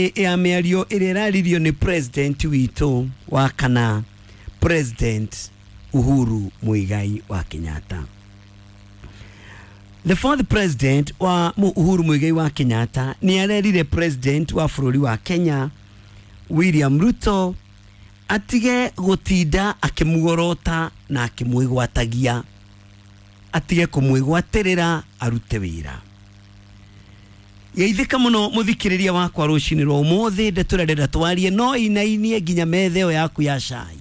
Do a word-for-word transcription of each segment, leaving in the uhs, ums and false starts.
Ya mĩario ĩrĩa ĩraririo nĩ president witũ wa kana, President Uhuru Muigai wa Kenyatta. The fourth president wa Uhuru Muigai wa Kenyatta nĩ arerire president wa bũrũri wa Kenya William Ruto atige gũtinda akĩmuorota na akĩmwĩgwatagia, atige kũmwĩgwatĩrĩra, arute wĩra. Geithĩka mũno mũthikĩrĩria wakwa rũcinĩ rwa ũmũthĩ. Ndeto ĩrĩa ndĩrenda twarie no inainie nginya metha ĩyo yaku ya cai,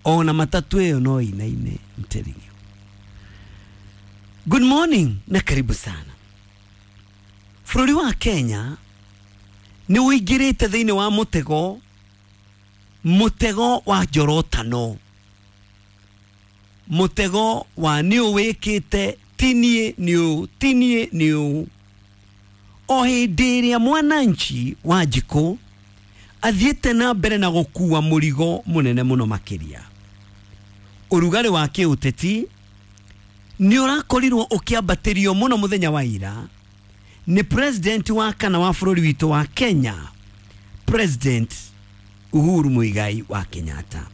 ona matatu ĩyo no inaine. I'm telling you. Good morning na karibu sana. Bũrũri wa Kenya nĩ ũingĩrĩte thĩinĩ wa mũtego, mũtego wa njorotano, mũtego wa nĩ ũwĩkĩte tinie nĩ ũ tinie nĩ ũ. O hĩndĩ ĩrĩa mwananchi wa njikũ athiĩte na mbere na gũkua mũrigo mũnene mũno makĩria. Ũrugarĩ wa kĩũteti nĩ ũrakorirwo ũkĩambatĩrio mũno mũthenya wa ira nĩ president wa kana wa bũrũri witũ wa Kenya, President Uhuru Muigai wa Kenyatta,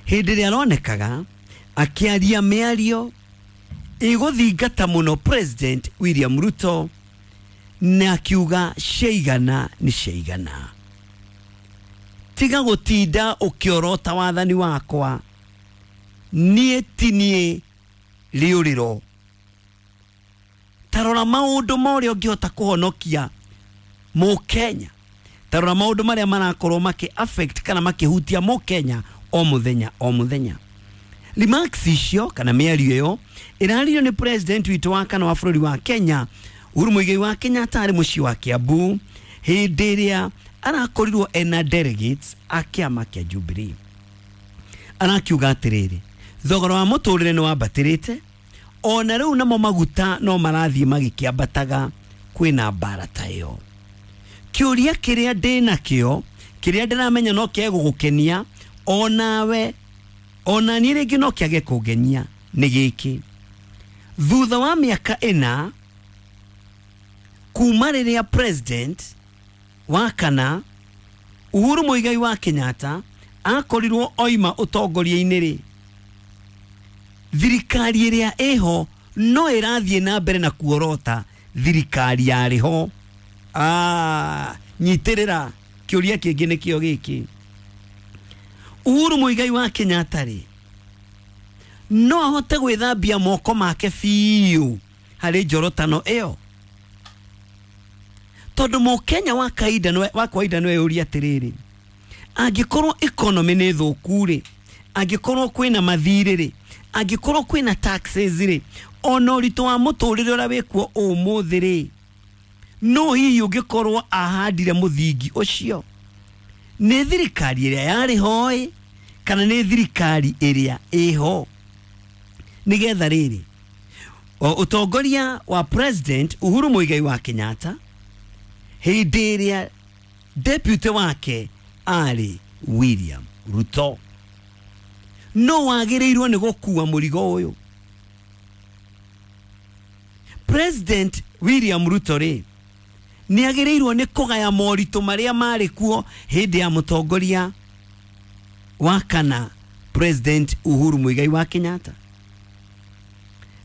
hĩndĩ ĩrĩa aronekaga akĩaria mĩario ĩgũthingata mũno President William Ruto na akiuga ciaigana nĩ ciaigana, tiga gũtinda ũkĩorota wathani wakwa, niĩ ti niĩ rĩũrĩro. Tarora maũndũ ma ũrĩa ũngĩhota kũhonokia mũkenya, tarora maũndũ marĩa marakorwo makĩ affect kana makĩhutia mũkenya o mũthenya o mũthenya. Remarks icio kana mĩario ĩyo ĩraririo nĩ president witũ wa kana wa bũrũri wa Kenya Uhuru Muigai wa Kenyatta arĩ mũciĩ wa Kiambu hĩndĩ ĩrĩa arakorirwo ena delegates a kĩama kĩa Jubilee. Arakiuga atĩrĩrĩ, thogora wa mũtũrĩre nĩ wambatĩrĩte, ona rĩu namo maguta no marathiĩ magĩkĩambataga, kwĩna mbara ta ĩyo. Kĩũria kĩrĩa ndĩnakĩo, kĩrĩa ndĩramenya no kĩage gũgũkenia onawe, ona niĩ rĩngĩ no kĩage kũngenia, nĩ gĩkĩ: thutha wa mĩaka ĩna kuma rĩrĩa president wa kana Uhuru Muigai wa Kenyatta akorirwo oima ũtongoria-inĩ rĩ, thirikari ĩrĩa ĩho no ĩrathiĩ na mbere na kuorota thirikari yarĩ ho. Ah, nyitĩrĩra kĩũria kĩngĩ nĩkĩo gĩkĩ: Uhuru Muigai wa Kenyatta rĩ, no ahote gwĩthambia moko make biũ harĩ njorotano ĩyo? Tondũ mũkenya wa kawaida wa kawaida no eyũrie atĩrĩrĩ, angĩkorwo economy nĩ thũku rĩ, angĩkorwo kwĩna mathirĩ rĩ, angĩkorwo kwĩna taxes rĩ, ona ũritũ wa mũtũrĩre ũrĩa wĩkuo ũmũthĩ rĩ, no hihi ũngĩkorwo ahandire mũthingi ũcio nĩ thirikari ĩrĩa yarĩ ho ĩ, kana nĩ thirikari ĩrĩa ĩho? Nĩgetha rĩrĩ, ũtongoria wa President Uhuru Muigai wa Kenyatta hĩndĩ ĩrĩa deputy wake arĩ William Ruto, no wagĩrĩirwo nĩ gũkua mũrigo ũyũ? President William Ruto rĩ, nĩ agĩrĩirwo nĩ kũgaya moritũ marĩa marĩ kuo hĩndĩ ya mũtongoria wa kana President Uhuru Muigai wa Kenyatta?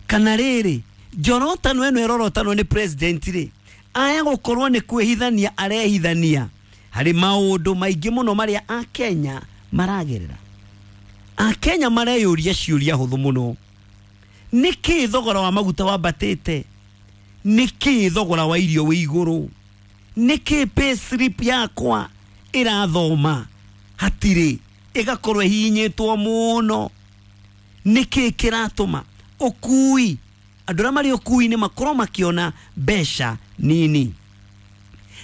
Kana rĩrĩ, njorotano ĩno ĩrorotanwo nĩ president rĩ, aya gũkorwo nĩ kwĩhithania arehithania harĩ maũndũ maingĩ mũno marĩa akenya maragerera? Akenya mareyũria ciũria hũthũ mũno: nĩkĩ thogora wa maguta wambatĩte? Nĩkĩ thogora wa irio wĩ igũrũ? Nĩkĩ pay slip yakwa ĩrathoma hatirĩ, ĩgakorwo ĩhihinyĩtwo mũno? Nĩkĩ kĩratũma ũkui, andũ arĩa marĩ ũkui-inĩ makorwo makĩona mbeca nini,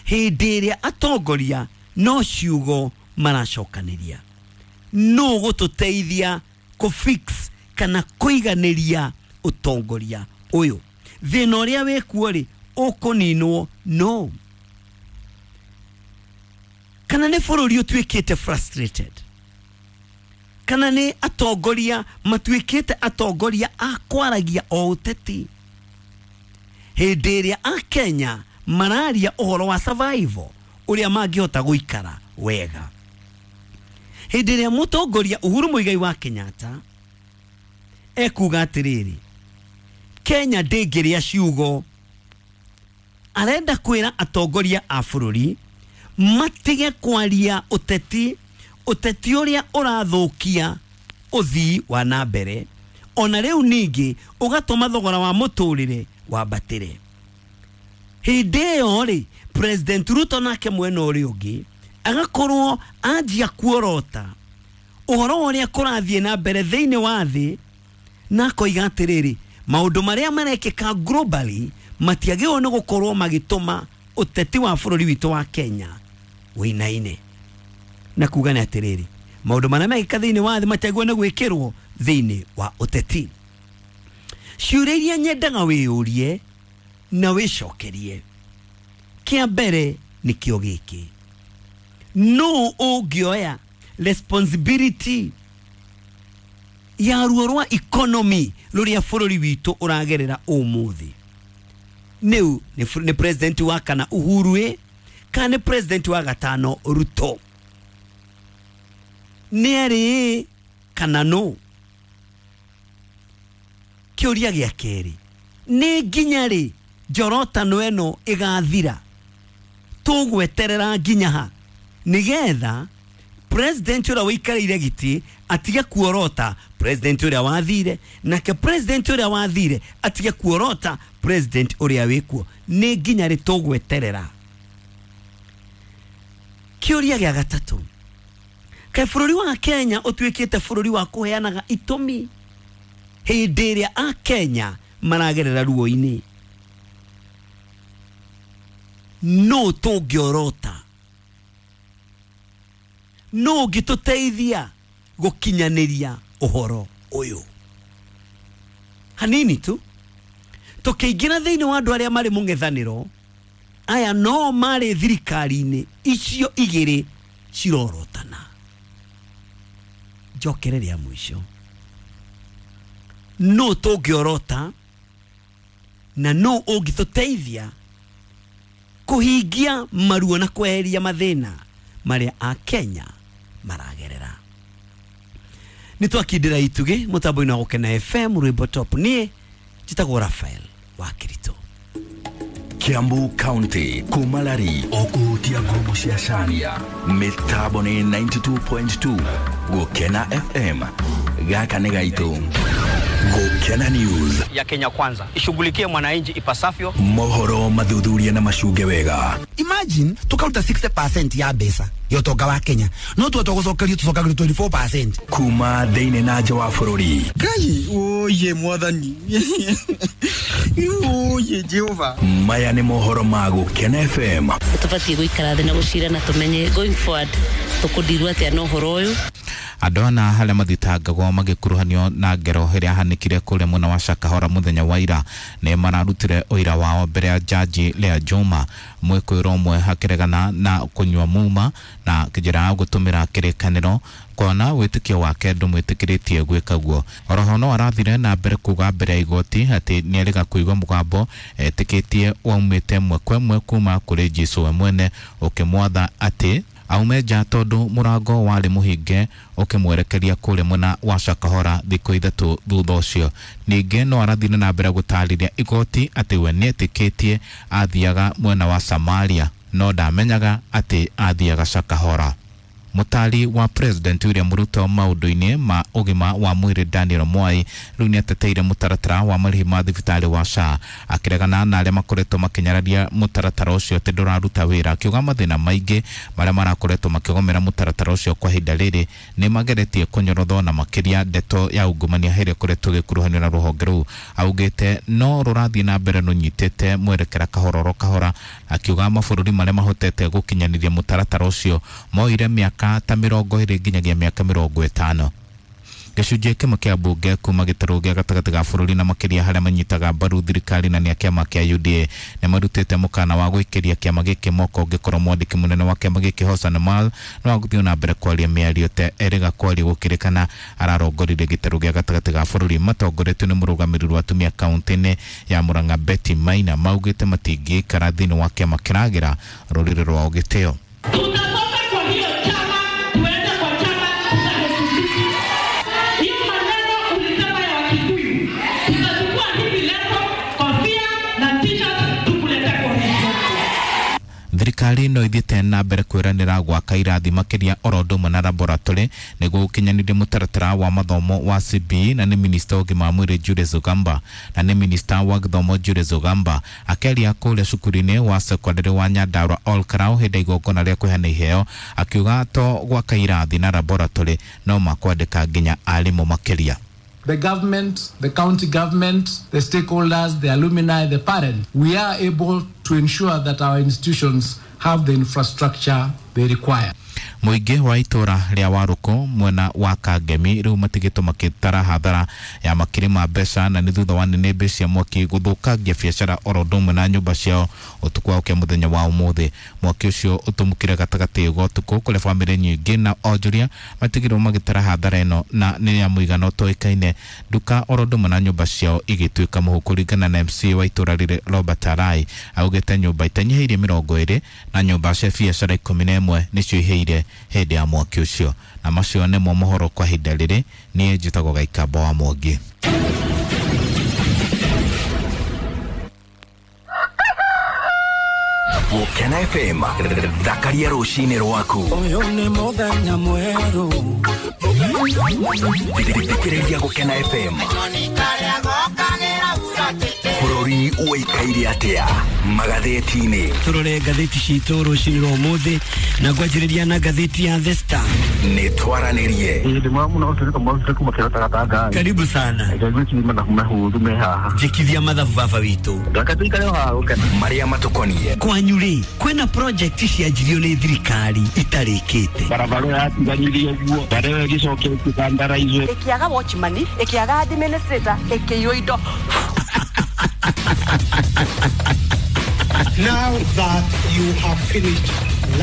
hĩndĩ ĩrĩa atongoria no ciugo maracokanĩria? No gũtũteithia kũ fix kana kũiganĩria ũtongoria ũyũ, thĩna ũrĩa wĩkuo rĩ, ũkũninwo no? Kana nĩ bũrũri ũtuĩkĩte frustrated, kana nĩ atongoria matuĩkĩte atongoria a kwaragia o ũteti, hĩndĩ ĩrĩa akenya mararia ũhoro wa survival ũrĩa mangĩhota gũikara wega. Hĩndĩ ĩrĩa mũtongoria Uhuru Muigai wa Kenyatta ekuga atĩrĩrĩ, Kenya ndĩngĩrĩa ciugo, arenda kwĩra atongoria a bũrũri matige kwaria ũteti, ũteti ũrĩa ũrathũkia ũthii wa na mbere, ona rĩu ningĩ ũgatũma thogora wa mũtũrĩre wambatĩre. Hĩndĩ ĩyo rĩ, President Ruto nake mwena ũrĩa ũngĩ agakorwo anjia kuorota ũhoro ũrĩa kũrathiĩ na mbere thĩinĩ wa thĩ, na akoiga atĩrĩrĩ, maũndũ marĩa marekĩka globally matiagĩrĩirwo nĩ gũkorwo magĩtũma ũteti wa bũrũri witũ wa Kenya wĩinaine. Na kuga nĩ atĩrĩrĩ, maũndũ marĩa mekĩka thĩinĩ wa thĩ matiagĩrĩirwo nĩ gwĩkĩrwo thĩinĩ wa ũteti. Ciũria iria nyendaga wĩyũrie na wĩcokerie, kĩa mbere nĩkĩo gĩkĩ: nũ ũngĩoya responsibility ya ruo rwa economy rũrĩa bũrũri witũ ũragerera ũmũthĩ? Nĩu nĩ president wa kana Uhuru ĩ, kana nĩ president wa gatano Ruto? Nĩ erĩ kana nũ? Kĩũria gĩa kerĩ, nĩ nginya rĩ njorotano ĩno ĩgathira? Tũgweterera nginya ha nĩgetha president ũrĩa wĩikarĩire gĩtĩ atige kuorota president ũrĩa wathire, nake president ũrĩa wathire atige kuorota president ũrĩa wĩkuo? Nĩ nginya rĩ tũgweterera? Kĩũria gĩa gatatũ, kaĩ bũrũri wa Kenya ũtuĩkĩte bũrũri wa kũheanaga itũmi hĩndĩ ĩrĩa a Kenya maragerera ruo-inĩ? Nũ tũngĩorota? Nũ ũngĩtũteithia gũkinyanĩria ũhoro ũyũ? Hanini tu tũkĩingĩra thĩinĩ wa andũ arĩa marĩ mũng'ethanĩro, aya no marĩ thirikari-inĩ icio igĩrĩ cirorotana. Njokere rĩa mũico, nũ tũngĩorota na nũ ũngĩtũteithia kũhingia maruo na kweheria mathĩna marĩa a Kenya maragerera? Nĩ twakindĩra itugĩ mũtambo-inĩ wa Gũkena F M rwĩmbo top. Niĩ njĩtagwo Raphael wa Kirito. Kiambu County kumalari okuhutia ngumu cia Cania mitambo ni ninety-two point two Gukena F M gaka nĩ gaitũ. Gukena News ya Kenya Kwanza ishughulikie mwananchi ipasavyo. Mohoro mathuthuria na macunge wega. Imagine tukaruta sixty percent ya mbeca ya ũtonga wa Kenya, no tuoto gũcokerio tũcokagĩrio twenty-four percent kuma thĩinĩ na nja wa bũrũri. Ngai oye mwathani oye Jehova. Maya nĩ mohoro ma Gukena F M. Tũbatiĩ gũikara thĩ na gũcira na tũmenye going forward tũkũndirwo atĩa na ũhoro ũyũ. Andũ ana harĩa mathitangagwo magĩkuruhanio na ngero ĩrĩa yahanĩkire kũrĩa mwena wa Shakahola mũthenya wa ira nĩ mararutire ũira wao mbere ya jaji Lea Juma. Mwĩkũĩrwo ũmwe akĩregana na kũnyua muma na njĩra ya gũtũmĩra kĩrĩkanĩro kuona wĩtĩkio wake ndũmwĩtĩkĩrĩtie gwĩka guo. Oroho no arathire na mbere kuga mbere ya igoti atĩ nĩerĩga kũigua mũgambo etĩkĩtie waumĩte ĩmwe kwa ĩmwe kuma kũrĩ Jesũ we mwene ũkĩmwatha atĩ aume nja tondũ mũrango warĩ mũhinge ũkĩmwerekeria kũrĩa mwena wa Shakahola thikũ ithatũ thutha ũcio. Ningĩ no arathire na mbere gũtarĩria igoti atĩ we nĩetĩkĩtie athiaga mwena wa Samaria no ndamenyaga atĩ athiaga Shakahola. Mũtari wa President William Ruto maũndũ-inĩ ma ũgima wa mwĩrĩ Daniel Mwai rĩu nĩateteire mũtaratara wa marĩhi ma thibitarĩ wa S H A akĩregana na arĩa makoretwo makĩnyararia mũtaratara ũcio atĩ ndũraruta wĩra, akiuga mathĩna maingĩ marĩa marakoretwo makĩgomera mũtaratara ũcio kwa ihinda rĩrĩ nĩ mageretie kũnyorothwo na makĩria ndeto ya ungumania ĩrĩa ĩkoretwo ĩgĩkuruhanio na rũhonge rũu. Augĩte no rũrathiĩ na mbere rũnyitĩte mwerekera kahora oro kahora, akiuga mabũrũri marĩa mahotete gũkinyanĩria mũtaratara ũcio moire mĩaka ta mĩrongo ĩrĩ nginyagia mĩaka mĩrongo ĩtano. Gĩcunjĩ kĩmwe kĩa mbunge kuma gĩtarũ gĩa gatagatĩ ga bũrũri na makĩria harĩa manyitaga mbaru thirikari na nĩ a kĩama kĩa U D A nĩ marutĩte mũkana wa gũikĩria kĩama gĩkĩ moko ũngĩkorwo mwandĩki mũnene wa kĩama gĩkĩ Hassan Omar no agũthiĩ na mbere kwaria mĩario te erĩga kwaria gũkĩrĩkana ararongoririe gĩtarũ gĩa gatagatĩ ga bũrũri matongoretio nĩ mũrũgamĩrĩri wa atumia kaunti-inĩ ya Murang'a Betty Maina maugĩte matingĩikara thĩinĩ wa kĩama kĩragĩra rũrĩrĩ rwao gĩtĩo. Tutatoka kwa hiyo chama tuende kwa chama tutaheshimu. Hiyo maneno ulisema ya Wakikuyu, tutachukua hivi leso, kofia na t-shirt tukulete kwa hiyo. Thirikari no ithiĩte na mbere kwĩranĩra gwaka irathi makĩria oro ũndũ ũmwe na laboratory nĩguo gũkinyanĩria mũtaratara wa mathomo wa C B E na nĩ minista wa ũgima wa mwĩrĩ Julius Ogamba na nĩ minista wa gĩthomo Julius Ogamba akĩaria kũrĩa cukuru-inĩ wa sekondarĩ wa Nyandarua Ol Kalou hĩndĩ ya igongona rĩa kũheana iheo akiuga to gwaka irathi na laboratory no makwandĩka nginya arimũ makĩria. The government, the county government, the stakeholders, the alumni, the parents, we are able to ensure that our institutions have the infrastructure they require. Mũingĩ wa itũra rĩa Warũkũ mwena wa Kangemi rĩu matigĩtwo makĩtara hathara ya makiri ma mbeca na nĩ thutha wa nĩnĩmbĩ cia mwaki gũthũkangia biacara oro ũndũ ũmwe na nyũmba ciao ũtukũ wa ũkĩa mũthenya wa ũmũthĩ. Mwaki ũcio ũtũmũkire gatagatĩ ga ũtukũ kũrĩa bamĩrĩ nyingĩ na onjoria matigĩrwo magĩtara hathara ĩno na nĩ ya mũigana ũtoĩkaine nduka oro ũndũ ũmwe na nyũmba ciao igĩtuĩka mũhu. Kũringana na M C wa itũra rĩrĩ Robert Arai augĩte nyũmba itanyihĩirie mĩrongo ĩrĩ na nyũmba cia biacara ikũmi na ĩmwe nĩcio ihĩire hĩndĩ ya mwaki ũcio. Na macio nĩmo mohoro kwa ihinda rĩrĩ. Niĩ njĩtagwo Gaikamba wa Mwangi. Gũkena F M thakaria rũcinĩ rwaku. Ũyũ nĩ mũthenya mwerũ. Thikĩrĩria Gũkena F M. Bũrũri ũikaire atĩa magathĩti-inĩ? Tũrore ngathĩti citũ rũcinĩ rwa ũmũthĩ na ngwanjĩrĩria na ngathĩti ya The Star. Nĩ twaranĩrie. Karibu sana. Njĩkithia mathabu baba witũ. Marĩa matũkoniĩ. Kwanyu rĩ, kwĩna project cianjirio nĩ thirikari itarĩkĩte. Barabara yatiganirie ũguo, barabara ĩgĩcokia ĩkĩkandaraizwo. Ĩkĩaga watchman, ĩkĩaga administrator, ĩkĩiywo indo. Now that you have finished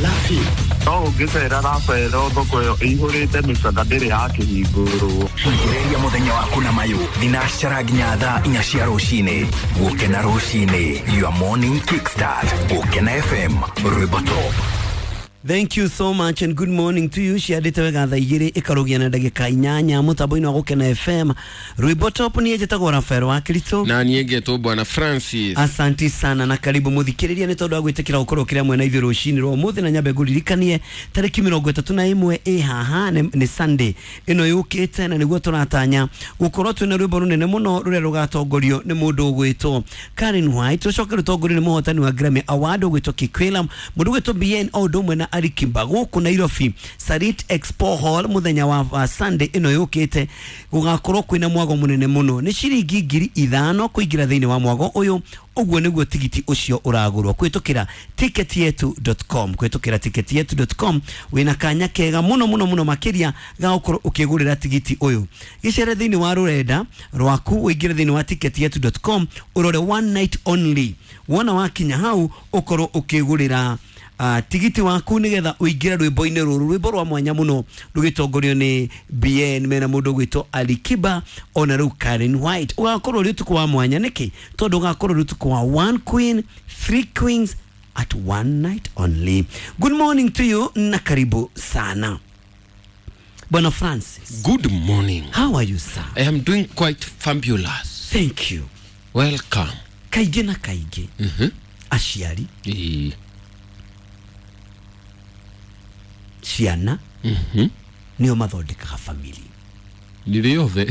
laughing. No ũngĩcera Rafael thoko ĩyo ĩihũrĩte mĩcanda ndĩrĩ yakĩhingũrwo. Ambĩrĩria mũthenya waku na mayũ thinacara nginya thaa inya cia rũcinĩ. Gũkena rũcinĩ, your morning kickstart. Gũkena F M, rwĩmbo top. Thank you so much and good morning to you. Ciandĩte wega thaa igĩrĩ ĩkarũgia na ndagĩka inyanya mũtambo-inĩ wa Gũkena F M. Rwĩmbo top niĩ njĩtagwo Rafael wa Kristo. Na niĩ ngetwo Bwana Francis. Asanti sana na karibu mũthikĩrĩria nĩ tondũ wa gwĩtĩkĩra gũkorwo kĩrĩa mwena ithuĩ rũcinĩ rwa ũmũthĩ na nyambe ngũririkanie tarĩki mĩrongo ĩtatũ na ĩmwe ĩ haha nĩ Sunday ĩno yũkĩte na nĩguo tũratanya gũkorwo twĩna rwĩmbo rũnene mũno rũrĩa rũgatongorio nĩ mũndũ ũgwĩtwo Karen White, rũcoke rũtongorio nĩ mũhotani wa Grammy Award ũgwĩtwo Kikwela, mũndũ ũgwĩtwo B N o ũndũ ũmwe na Alikiba gũkũ Nairobi Sarit Expo Hall mũthenya wa uh, Sunday ĩno yũkĩte gũgakorwo kwĩna mwago mũnene mũno nĩ ciringi ngiri ithano kũingĩra thĩinĩ wa mwago ũyũ. Ũguo nĩguo tigiti ũcio ũragũrwo kũhĩtũkĩra ticket yetu dot com, kũhĩtũkĩra ticket yetu dot com wĩna kanya kega mũno mũno mũno makĩria ga gũkorwo ũkĩgũrĩra tigiti ũyũ. Gĩcere thĩinĩ wa rũrenda rwaku ũingĩre thĩinĩ wa ticket yetu dot com ũrore one night only, wona wakinya hau ũkorwo ũkĩgũrĩra Uh, tigiti waku nigetha uingire rwimbo-inĩ rũrũ, rwimbo rwa mwanya mũno rũgĩtongorio nĩ B N mena mũndũ ũgwĩtwo Alikiba ona rĩu Karen White. Ũgakorwo ũrĩ ũtukũ wa mwanya nĩkĩ? Tondũ ũgakorwo ũrĩ ũtukũ wa one queen, three queens at one night only. Good morning to you na karibu sana. Bwana Francis. Good morning. How are you, sir? I am doing quite fabulous. Thank you. Welcome. Kaingĩ na kaingĩ. Mhm. Aciari. Eh. Ciana mm-hmm. nĩo mathondekaga family nĩ yothe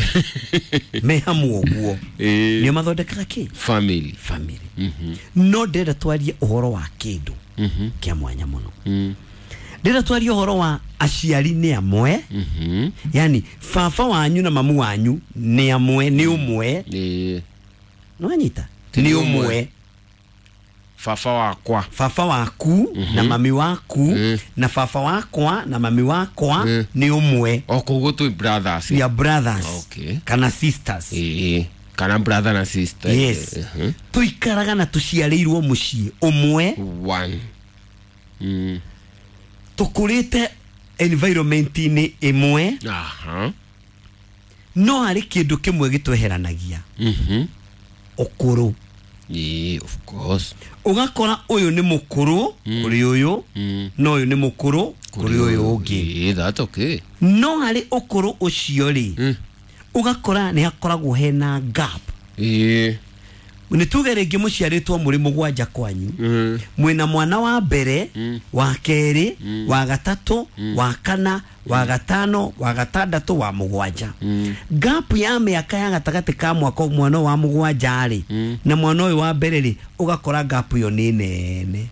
me hamwe ũguo nĩo mathondekaga kĩ family family mm-hmm. No ndĩrenda twarie ũhoro wa kĩndũ mm-hmm. kĩa mwanya mũno. mm. Ndĩrenda twarie ũhoro wa aciari nĩ amwe. mm-hmm. Yani baba wanyu na mamu wanyu nĩ amwe, nĩ ũmwe. Ĩĩ nĩwanyita nĩ ũmwe. Baba wakwa baba waku mm -hmm. na mami waku mm -hmm. na baba wakwa na mami wakwa mm -hmm. ni umwe o koguo twi brothers. We are brothers. Okay. Kana sisters. Eh, kana brother na sister. Yes. Uh -huh. Tuikaraga na tuciarĩirwo mũciĩ ũmwe one. Mm. Tukurite environment-inĩ ĩmwe. Aha. No harĩ kĩndũ kĩmwe gĩtweheranagia. Mhm. Ũkũrũ. Yeah, of course. Ũgakora ũyũ nĩ mũkũrũ kũrĩ ũyũ, no ũyũ nĩ mũkũrũ kũrĩ ũyũ ũngĩ. Yeah, that's okay. No harĩ ũkũrũ ũcio rĩ, ũgakora nĩ hakoragwo hena gap. Yeah. Nĩ tuge rĩngĩ mũciarĩtwo mũrĩ mũgwanja kwanyu, mwĩna mwana wa mbere, wa kerĩ, wa gatatũ, wa kana, wa gatano, wa gatandatũ, wa mũgwanja. Gap ya mĩaka ya gatagatĩ ka mwaka mwana wa mũgwanja rĩ na mwana ũyũ wa mbere rĩ, ũgakora gap ĩyo nĩ nene.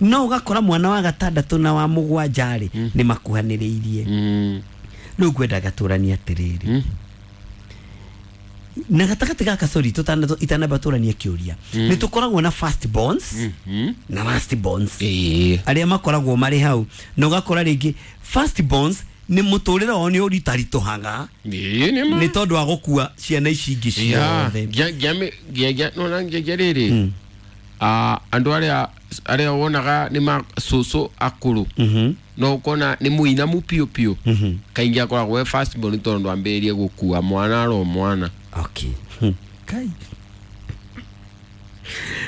No ũgakora mwana wa gatandatũ na wa mũgwanja rĩ nĩ makuhanĩrĩirie. Rĩu ngwendaga tũranie atĩrĩrĩ, na gatagatĩ gaka sorry tutana itanamba tũranie kĩũria, nĩ tũkoragwo na first borns na last borns arĩa makoragwo marĩ hau, na ũgakora rĩngĩ first borns nĩ mũtũrĩre wao nĩ ũritaritũhaga nĩ tondũ wa gũkua ciana ici ingĩ ciothe. Ngia rĩrĩ andũ arĩa arĩa wonaga nĩ ma cũcũ akũrũ no ukona nĩ mũinamu piũ piũ, kaingĩ akoragwo e first born tondũ ambĩrĩrie gũkua mwana aro mwana. Okay. Kai.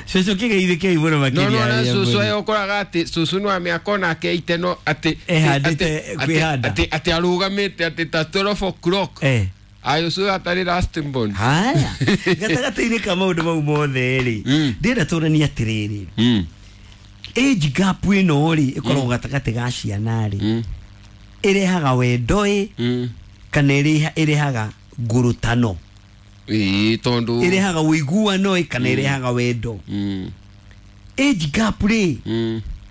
Cũcũ kĩgeithĩkei mũno makĩria. No no cũcũ ayo ũkoraga atĩ cũcũ nĩ wa mĩaka onake ite no atĩ ehandĩte kwĩhanda atĩ atĩ arũgamĩte atĩ ta twelve o'clock. Eh. Ayo cũcũ atarĩ last born. Haya. Gatagatĩ-inĩ ka maũndũ mau mothe rĩ, ndĩrenda tũranie atĩrĩrĩ. Age gap ĩno rĩ ĩkoragwo gatagatĩ ga ciana rĩ, ĩrehaga wendo ĩ kana ĩrehaga ngurutano? Ĩĩ, tondũ ĩrehaga ũiguano ĩ kana ĩrehaga wendo? Age gap rĩ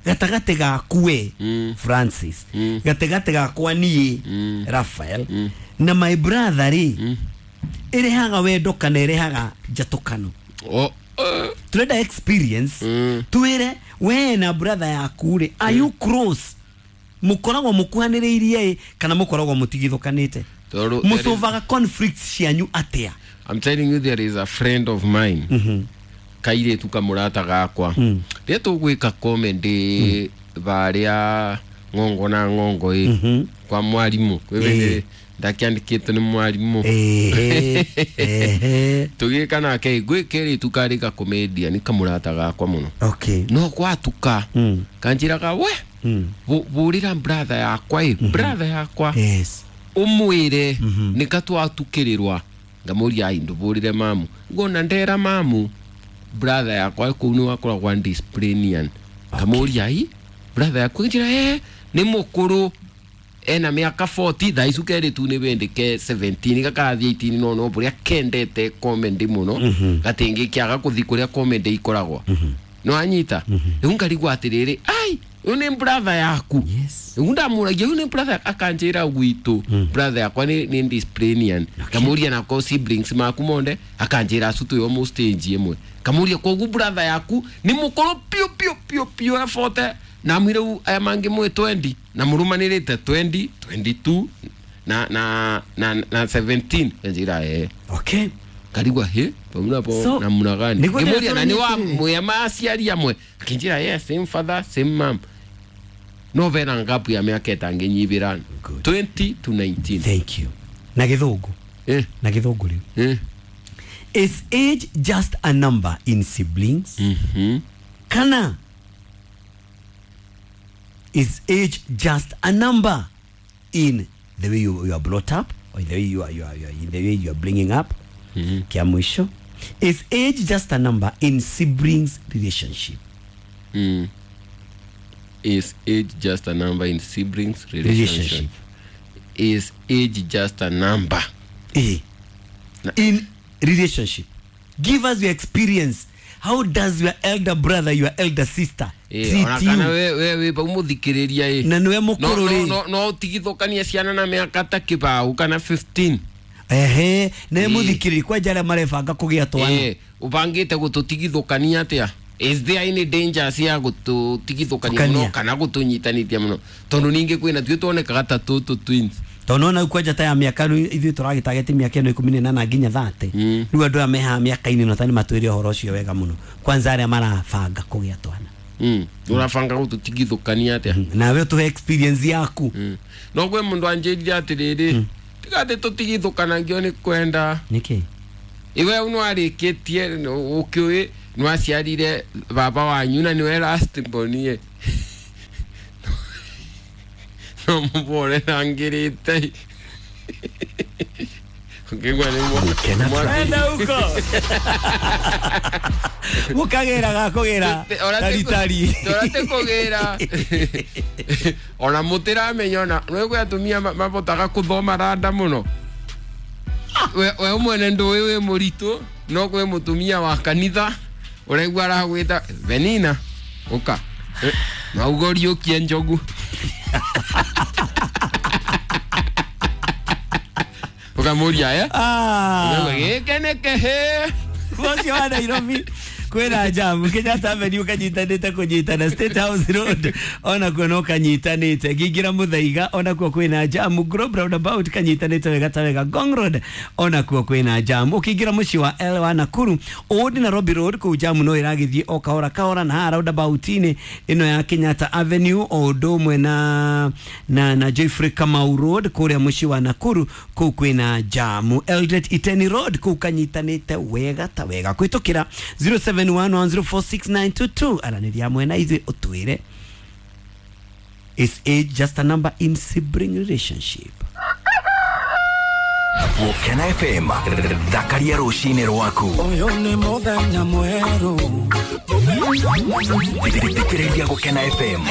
gatagatĩ gaku we Francis, gatagatĩ gakwa niĩ Raphael na my brother rĩ, ĩrehaga wendo kana ĩrehaga njatũkano? Turenda experience twĩre we na brother yaku rĩ, are you close? Mũkoragwo mũkuhanĩrĩirie kana mũkoragwo mũtigithũkanĩte? Mũsolvaga conflicts cianyu atĩa? I'm telling you, there is a friend of mine. Mm-hmm. Kairĩtu kamũrata gakwa. Rĩrĩa tũgwĩka comedy varĩa ng'ongo na ng'ongo ĩ kwa mwarimũ kwĩ ndakĩandĩkĩtwo nĩ mwarimũ. Tũgĩka nake gwĩ kairĩtu karĩ ga comedian kamũrata gakwa mũno. Okay. No gwatuka kanjĩraga we bũrĩra brother yakwa ĩ brother yakwa. Yes. Umwire nika twatukĩrĩrwa ngamũria ai ndũbũrĩre mamu ngona ndera mamu brother yakwa kũu nĩ wakoragwo disciplinian ngamũria ai brother yakwa njĩra eh nĩ mũkũrũ ena mĩaka forty thaa ici kerĩ tu nĩ wendeke seventeen gakathiĩ eighteen no no bũrĩa kendete comedy mũno gatingĩkĩaga kũthi kũrĩa comedy ikoragwo no anyita rĩu ngarigwo atĩrĩrĩ ai uyu ni brother yaku. Yes. Rĩu ndamũragia uyu ni brother akanjĩra gwitũ brother yakwa ni ni disciplinian kamuria na ko siblings maku monde akanjĩra acu twĩ almost age ĩmwe kamuria koguo brother yaku ni mũkũrũ piũ piũ piũ piũ e forty na mwire aya mangĩ mwe twenty na mũrũmanĩrĩte twenty twenty-two na na na na seventeen njĩra eh okay karigwa he pamuna po so, na muna gani ngimuria na ni wa mwe maciari amwe akinjira yes same father same mom no vera ngapu ya miaka ĩtangĩnyibĩra twenty to nineteen. Thank you. Na gĩthũngũ eh na gĩthũngũ rĩu eh is age just a number in siblings? Mhm. Kana is age just a number in the way you, you are brought up or in the way you are, you are, you are in the way you are bringing up? Mm-hmm. Kia mwisho, is age just a number in siblings relationship? Mm. Is age just a number in siblings relationship? Relationship. Is age just a number? Eh. Na. In relationship. Give us your experience. How does your elder brother, your elder sister eh, treat you? Ona we we we umuthikiriria eh. Na niwe mukuru no no no utigithukanie ciana na miaka ta kibau kana fifteen. Ehe, ne muthikiriri kwa jara marebanga kugia twana. Eh, ubangite gututigithukania atia? Is there any danger cia gututigithukania muno kana gutunyitanithia muno tondu ningi kwina tuo tuonekaga ta tutu twins tondu ona kwanja ta ya miaka ithuĩ tũragĩtageti mĩaka ĩno ikũmi na ĩnana nginya thate rĩu andũ aya mehaha mĩaka-inĩ ĩno ta nĩ matwĩre ũhoro ũcio wega mũno kwanza arĩa marabanga kũgĩa twana mm urabanga gututigithukania atia nawe ũtũhe experience yaku no gwĩ mũndũ anjĩrire atĩrĩrĩ tiga atĩ tũtigithũkanagio nĩ kwenda nĩkĩ iwe nĩwarĩkĩtie ũkĩũĩ nĩwaciarire baba wanyu na nĩwe last born ye no mũbore nangĩrĩte ũkĩigua nĩ Enda huko mũkagĩra gakũgĩra taritari torate kũgĩra ona mũtĩramenya ona nĩ kwĩ atumia mabotaga kũthoma randa mũno we we mwene ndũĩ wĩ mũritũ no kwĩ mũtumia wa kanitha ũraigua aragwĩta Benina ũka mauga ũriũkie njogu ũkamũria eh gĩkĩ nĩ kĩhĩ ũcio wa Nairobi kwĩna jamu Kenyatta Avenue kanyitanĩte kũnyitana State House Road onakuo no kanyitanĩte ngĩingĩra Muthaiga onakuo kwĩna jamu Globe Roundabout kanyitanĩte wega ta wega Ngong Road onakuo kwĩna jamu ũkĩingĩra mũciĩ wa L wa Nakuru Old Nairobi Road kũu jamu no ĩragĩthiĩ o kahora kahora na haha roundabout-inĩ ĩno ya Kenyatta Avenue o ũndũ ũmwe na na na Geoffrey Kamau Road kũrĩa mũciĩ wa Nakuru kũu kwĩna jamu Eldoret Iteni Road kũu kanyitanĩte wega ta wega kwĩtũkĩra zero seven one one zero four six nine two two aranĩria mwena ithuĩ ũtwĩre is age just a number in sibling relationship. Gũkena F M thakaria rũcinĩ rwaku ũyũ nĩ mũthenya mwerũ thikĩrĩria Gũkena F M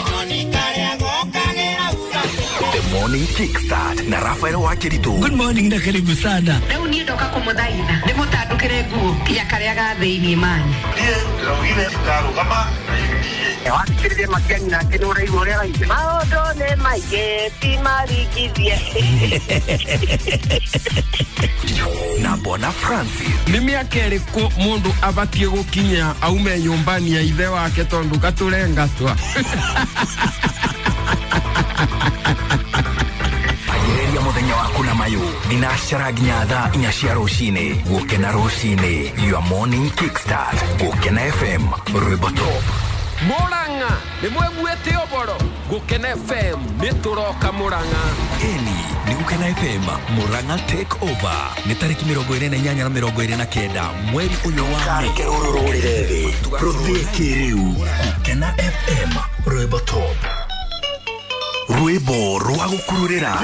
The Morning Kickstart na Rafael Wakiritu. Good morning na karibu sana. Rĩu niĩ ndoka kũmũthaitha ndĩmũtandũkĩre nguo kinya karĩa ga thĩinĩ mani. Niĩ ndĩraugire ndarũgama na U D A. Wathikĩrĩria Matiang'i nake nĩ ũraigua ũrĩa araigua. Maũndũ nĩ maingĩ ti maringithie. Na Bona Francis. Nĩ mĩaka ĩrĩkũ mũndũ abatiĩ gũkinya aume nyũmbani ya ithe wake tondũ gatũrengatwa? Agĩrĩria mũthenya waku na mayũ thinacara nginya thaa inya cia rũcinĩ. Gũkena rũcinĩ, your morning kickstart. Gũkena F M, rwĩmbo top. Murang'a nĩ mweguĩte ũboro. Gũkena F M nĩ tũroka Murang'a. Ĩni nĩ Gũkena F M Murang'a take over nĩ tarĩki mĩrongo ĩrĩ na inyanya na mĩrongo ĩrĩ na kenda mweri ũyũ wa Mĩĩ. Kareke rũrũ rũrĩre thĩ rũthiĩ kĩrĩu. Gũkena F M rwĩmbo top, rwĩmbo rwa gũkururĩra.